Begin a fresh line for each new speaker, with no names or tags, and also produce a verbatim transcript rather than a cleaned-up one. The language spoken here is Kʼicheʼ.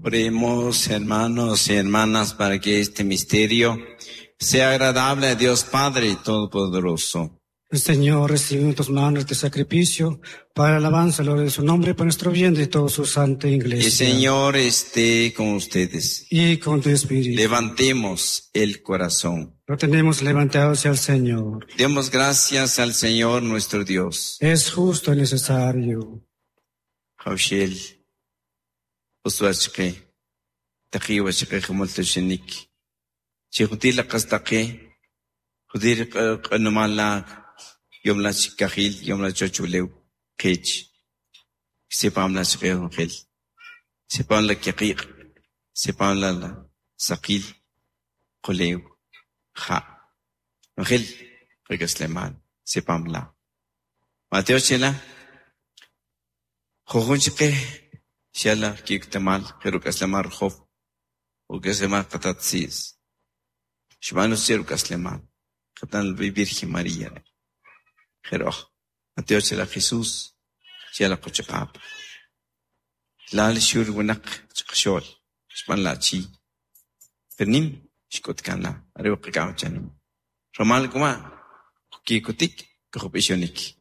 Oremos, hermanos y hermanas, para que este misterio sea agradable a Dios Padre Todopoderoso.
El Señor recibe en tus manos este sacrificio para alabanza y gloria de su nombre, para nuestro bien de toda su santa iglesia.
El Señor esté con ustedes.
Y con tu espíritu.
Levantemos el corazón.
Lo tenemos levantado hacia el Señor.
Demos gracias al Señor nuestro Dios.
Es justo y necesario.
Jaushel, uswachke, taqiwachke jumultushinik, chijutila qastaqi, judir q'anumala, yomla chikajil, yomla chochulew, qech, sepam la chqejel, sepam la kiqiq, sepam la saqil, qulew, ja. Angel, regasleman, sepam la. Mateo chela, jujun chqe, xala kiktamal, jerukaslemar jof, ukaslemar qatatsis. Shmanu sirukasleman, qatan Virgen María. Jeroj, Mateo chela Jesús, xala qochaqap. Lal shur winak chqshol, shman la chi. Pernim, shkot kanla, arew qikam chanim. Romal kuma, kikutik, kujupishonik.